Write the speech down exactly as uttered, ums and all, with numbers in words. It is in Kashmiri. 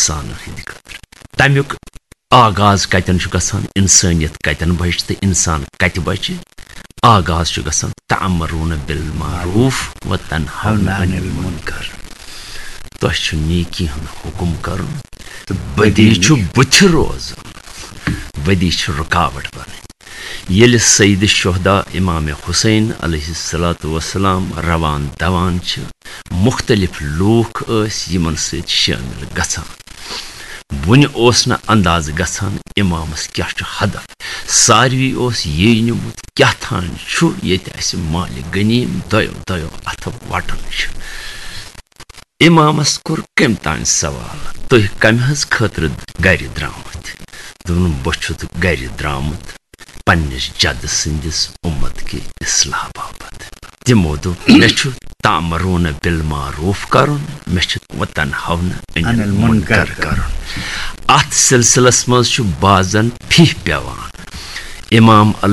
اِنسانَن ہٕنٛدِ خٲطرٕ۔ تَمیُک آغاز کَتٮ۪ن چھُ گژھان؟ اِنسٲنیت کَتٮ۪ن بَچہِ تہٕ اِنسان کَتہِ بَچہِ؟ آغاز چھُ گژھان تَأمُرُونَ بِالمَعروٗفِ وَتَنْهَوْنَ عَنِ الْمُنْکَرِ۔ تۄہہِ چھُ نیکی ہُنٛد حُکُم کَرُن تہٕ بدی چھُ بٕتھِ روزُن، بدی چھِ رُکاوَٹ بَنٕنۍ۔ ییٚلہِ سید شہدا امام حسین علیہ الصلوۃ والسلام روان دوان چھِ، مختلف لوٗکھ ٲسۍ یِمن سۭتۍ شٲمِل گژھان۔ وُنہِ اوس نہٕ اندازٕ گژھان امامس کیٛاہ چھُ ہدف۔ ساروی اوس یی نیومُت کیٛاہ تھام چھُ ییٚتہِ اَسہِ مالِ غنیٖم دۄیو دۄیو اَتھو وَٹان چھُ۔ امامس کوٚر کٔمۍ تام سوال، "تُہۍ کمہِ ہٕنٛز خٲطرٕ گرِ درٛامٕتۍ؟" دوٚپُن، "بہٕ چھُس گرِ درٛامُت پننِس جدٕ سٕنٛدِس اُمت کہِ اصلاح باپتھ۔" تِمو دوٚپ، "مےٚ چھُ تأمُرُونَ بِالمَعروٗفِ کرُن، مےٚ چھُ وَتَنْهَوْنَ عَنِ الْمُنْکَرِ کرُن۔" اتھ سلسلس منٛز چھُ بعضن فی پٮ۪وان۔ امام علیہ